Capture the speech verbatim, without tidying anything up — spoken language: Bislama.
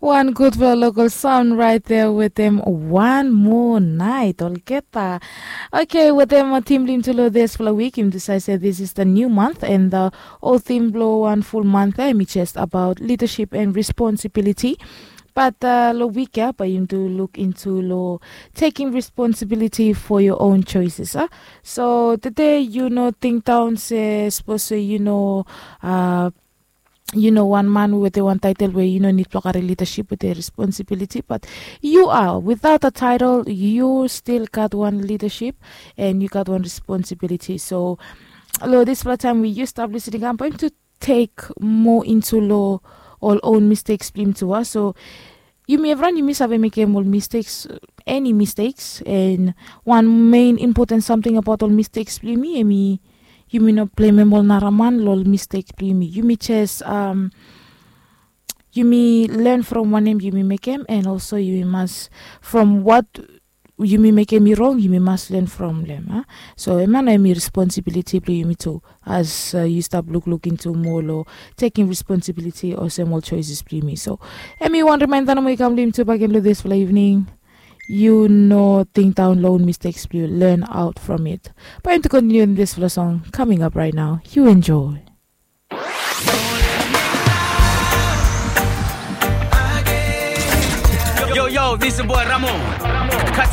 Wan gudfala lokal song right there wetem wan moa nait olgeta. Okay, wetem tim blong yumi tu long dispela wik yumi decide se this is the new month and the old theme blong wan full month eh, mi just about leadership and responsibility. But uh, long wik ya bae yumi tu look into long taking responsibility for your own choices ah. So today you know think down se suppose se you know uh, you know wan man wetem wan title we you no need blong kari leadership wetem responsibility but you are without a title you still gat wan leadership and you gat wan responsibility. So lo dispela taim we you stap listening am bae yumi tu tek moa into lo ol own mistakes blong yumi tu a so yumi evran yumi save mekem ol mistakes, any mistakes and wan main important something about ol mistakes blong yumi em i yumi no blamem ol naraman lo ol mistake blong yumi yumi jes um, yumi learn from wanem yumi mekem and also yumi mas from what yumi mekem i rong yumi mas learn from them ah. So ema na em i responsibility blong yumi tu as uh, you stop look look into more lo taking responsibility olsem ol choices blong yumi so em i wan reminder nomo i kam blong yumi tu bagen lo this fala evening. You no think down lo own mistakes blong you learn out from it. But to continue in this fala song coming up right now you enjoy. Yo, yo, this is boy Ramo. Catch